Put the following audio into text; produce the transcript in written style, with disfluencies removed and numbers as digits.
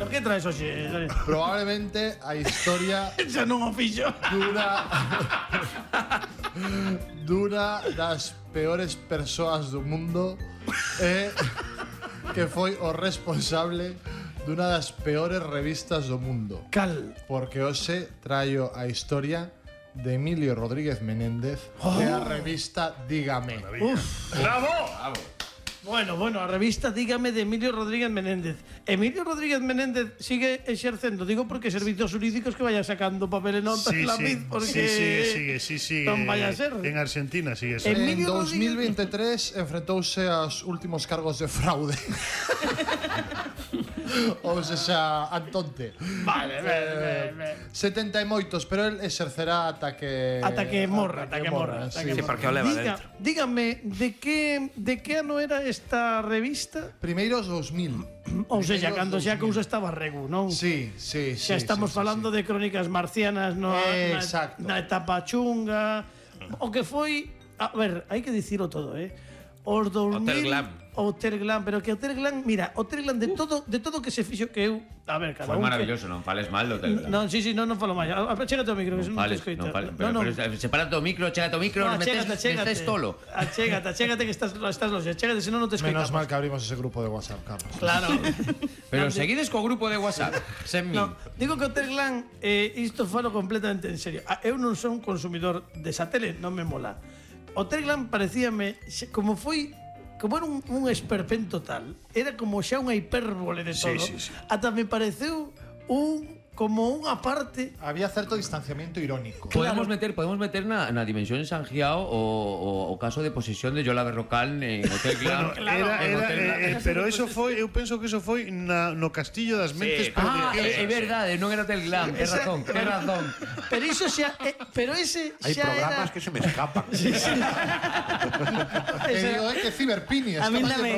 que traes hoxe? Probablemente a historia Xa non o fixo. duna das peores persoas do mundo que foi o responsable dunha das peores revistas do mundo. Cal? Porque hoxe traio a historia de Emilio Rodríguez Menéndez de a revista Dígame. ¡Bravo! Bueno, a revista Dígame de Emilio Rodríguez Menéndez. Emilio Rodríguez Menéndez sigue exercendo, digo porque servicios jurídicos que vaya sacando papel e notas Sí, la sí, MID, porque sigue. non vaya a ser. En Argentina sigue eso. En Emilio 2023 enfrentouse aos últimos cargos de fraude. Ou seja, Antonte. Vale. 70 e moitos, pero el exercerá ata que morra. sí. Sí, porque o leva dentro. Dígame, de que ano era esta revista? Primeiros 2000. Ou seja, Primeiros cando xa a 2000. cousa estaba regu, non? Sí. Xa estamos falando de crónicas marcianas Exacto. na etapa chunga. O que foi, a ver, hai que dicilo todo, Os 2000 Hotel Glam. Hotel Glam, pero que Hotel Glam, mira, Hotel Glam de todo que se fixo que eu, a ver, cada Foi un maravilloso, non fales mal do Hotel Glam. Non, sí, non falo máis. Chégate ao micro, que se non te escoita. Non fales, pero sepárate o micro, chégate o micro, metes tolo. Chégate que estás loxe, chégate, senón non te escoitamos. Menos mal que abrimos ese grupo de WhatsApp, Carlos. Claro. Pero seguides co grupo de WhatsApp, sen min. No, digo que Hotel Glam, isto falo completamente en serio. Eu non son consumidor desa tele, non me mola. Hotel Glam parecíame como era un esperpento tal, era como xa unha hipérbole de todo. Sí. Ata me pareceu como unha parte. Había certo distanciamiento irónico. Podemos meter na dimensión Sangiao o caso de posesión de Yola Berrocal en Hotel Glam. Pero eso foi, eu penso que eso foi no Castillo das Mentes É verdade, non era Hotel Glam, é razón. Pero iso xa, pero ese Hay xa programas era. que se me escapan. Que digo, que ciberpini. A mí dame